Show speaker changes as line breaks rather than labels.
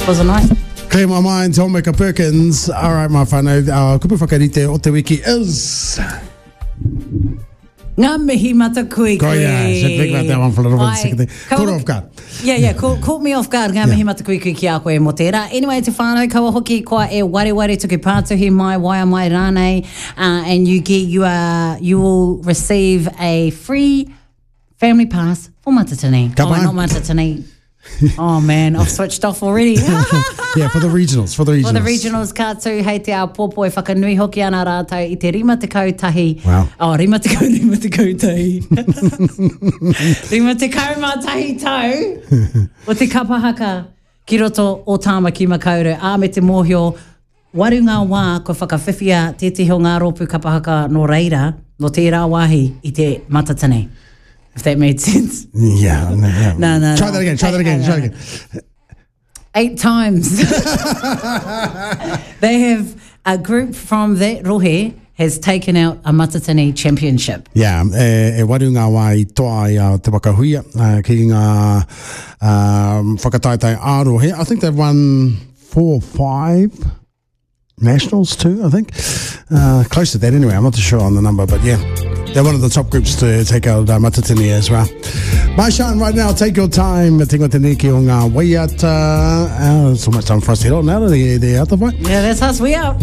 It was a night.
Clear my mind, Tomeka Perkins. All right, my whānau, our kupu whakarite o te wiki is...
Ngā mihi matakuikui.
Go yeah, should think about that one for a little bit. Second thing. Caught off guard.
Yeah, yeah, caught, caught me off guard. Ngā mihi matakuikui ki a koe mō tērā. Anyway, te whānau, kaua hoki koa e wareware tuku pātuhi mai, waea mai rānei, uh, and you get, you are, you will receive a free family pass for Matatini.
Ka
oh,
pai.
not Matatini. Oh man, I've switched off already.
yeah, for the regionals, for the regionals.
For the regionals, ka tū hei te āpōpō e whakanui hoki ana rātou i te 51.
Wow.
Oh, 50, 51. 51 tau o te kapa haka ki roto o Tāmaki Makaurau. Ā, me te mōhio, waru ngā wā kua whakawhiwhia tētehi o ngā rōpū kapa haka nō reira, nō tērā wāhi i te Matatini. If that made sense.
Yeah, no, yeah.
No, no,
Try
no.
that again, try that again, try that again.
Eight times. they have a group from that rohe has taken out a Matatini championship.
Yeah, e, e waru ngā wā i toa ai a Te Waka Huia uh, ki ngā um, whakataetae ā-rohe. I think they've won four or five nationals too, I think. Uh, close to that anyway. I'm not too sure on the number, but yeah. They're one of the top groups to take out uh, Matatini as well. Maishan, right now, take your time. Te ingoa tēnei ki o ngā waiata. Uh, so much time for us to head on now. The, the other
Yeah, that's us. We out.